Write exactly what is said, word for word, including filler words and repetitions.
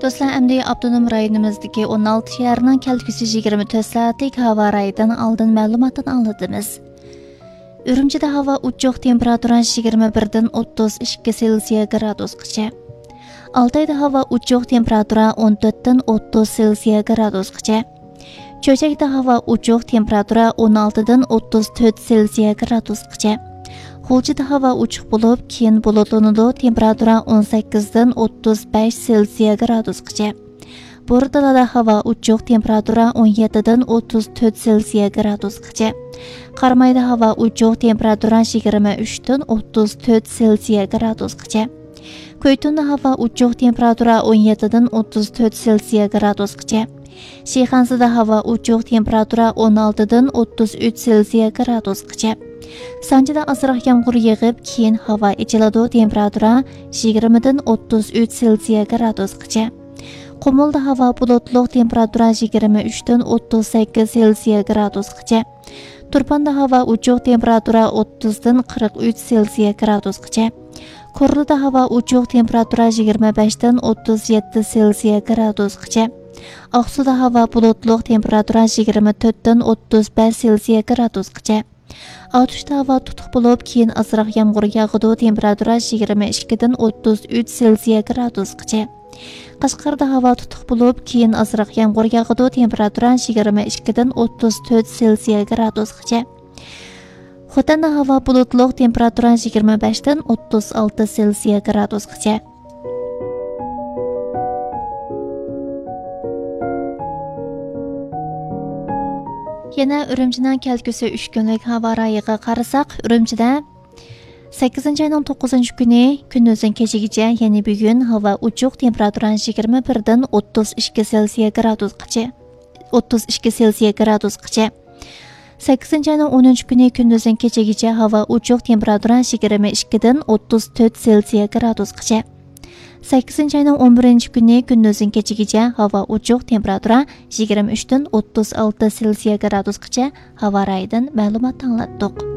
دوستلار، ئەمدى ئاپتونوم رايونىمىزدىكى ئون ئالتە شەھەرنىڭ كەلگۈسى يىگىرمە تۆت سائەتلىك ھاۋا رايىدىن ئالدىن مەلۇماتنى ئاڭلىتىمىز. ئۈرۈمچىدە ھاۋا ئوچۇق، تېمپېراتۇرا يىگىرمە بىردىن ئوتتۇز ئىككى سېلسىيە گرادۇسقىچە. ئالتايدا ھاۋا ئوچۇق، تېمپېراتۇرا ئون تۆتتىن ئوتتۇز سېلسىيە گرادۇسقىچە. چۆچەكتە ھاۋا ئوچۇق، تېمپېراتۇرا ئون ئالتىدىن ئوتتۇز تۆت سېلسىيە گرادۇسقىچە. غۇلجىدا ھاۋا ئوچۇق بولۇپ، كېيىن بۇلۇتلىنىدۇ، تېمپېراتۇرا ئون سەككىزدىن ئوتتۇز بەش سېلسىيە گرادۇسقىچە. بورتالادا ھاۋا ئوچۇق، تېمپېراتۇرا ئون يەتتىدىن ئوتتۇز تۆت سېلسىيە گرادۇسقىچە. قارامايدا ھاۋا ئوچۇق، تېمپېراتۇرا يىگىرمە ئۈچتىن ئوتتۇز تۆت سېلسىيە گرادۇسقىچە. كۇيتۇندا ھاۋا ئوچۇق، تېمپېراتۇرا ئون يەتتىدىن ئوتتۇز تۆت سېلسىيە گرادۇسقىچە. شىخەنزىدە ھاۋا ئوچۇق، تېمپېراتۇرا ئون ئالتىدىن ئوتتۇز ئۈچ سېلسىيە گرادۇسقىچە. سانجىدا ئازراق يامغۇر يېغىپ، كېيىن ھاۋا ئېچىلىدۇ، تېمپېراتۇرا يىگىرمىدىن ئوتتۇز ئۈچ سېلسىيە گرادۇسقىچە. قۇمۇلدا ھاۋا بۇلۇتلۇق، تېمپېراتۇرا يىگىرمە ئۈچتىن ئوتتۇز سەككىز سېلسىيە گرادۇسقىچە. تۇرپاندا ھاۋا ئوچۇق، تېمپېراتۇرا ئوتتۇزدىن قىرىق ئۈچ سېلسىيە گرادۇسقىچە. كورلىدا ھاۋا ئوچۇق، تېمپېراتۇرا يىگىرمە بەشتىن ئوتتۇز يەتتە سېلسىيە گرادۇسقىچە. ئاقسۇدا ھاۋا بۇلۇتلۇق، تېمپېراتۇرا يىگىرمە تۆتتىن ئوتتۇز بەش سېلسىيە گرادۇسقىچە. ئاتۇشتا ھاۋا تۇتۇق بولۇپ، كېيىن ئازراق يامغۇر ياغىدۇ، تېمپېراتۇرا يىگىرمە ئىككىدىن ئوتتۇز ئۈچ سېلسىيە گرادۇسقىچە. قەشقەردە ھاۋا تۇتۇق بولۇپ، كېيىن ئازراق يامغۇر ياغىدۇ، تېمپېراتۇرا يىگىرمە ئىككىدىن ئوتتۇز تۆت سېلسىيە گرادۇسقىچە. خوتەندە ھاۋا بۇلۇتلۇق، تېمپېراتۇرا يىگىرمە بەشتىن ئوتتۇز ئالتە سېلسىيە گرادۇسقىچە. يەنە ئۈرۈمچىنىڭ كەلگۈسى ئۈچ كۈنلۈك ھاۋا رايىغا قارىساق، ئۈرۈمچىدە سەككىزىنچى ئاينىڭ توققۇزىنچى كۈنى كۈندۈزدىن كېچىگىچە، يەنى بۈگۈن ھاۋا ئوچۇق، تېمپېراتۇرا يىگىرمە بىردىن ئوتتۇز ئىككى سېلسىيە گرادۇسقىچە، ئوتتۇز ئىككى سېلسىيە گرادۇسقىچە. سەككىزىنچى ئاينىڭ ئونىنچى كۈنى كۈندۈزدىن كېچىگىچە ھاۋا ئوچۇق، تېمپېراتۇرا يىگىرمە ئىككىدىن ئوتتۇز تۆت سېلسىيە گرادۇسقىچە. سەككىزىنچى ئاينىڭ ئون بىرىنچى كۈنى كۈندۈزدىن كېچىگىچە ھاۋا ئوچۇق، تېمپېراتۇرا يىگىرمە ئۈچتىن ئوتتۇز ئالتە سېلسىيە گرادۇسقىچە. ھاۋا رايىدىن مەلۇمات ئاڭلاتتۇق.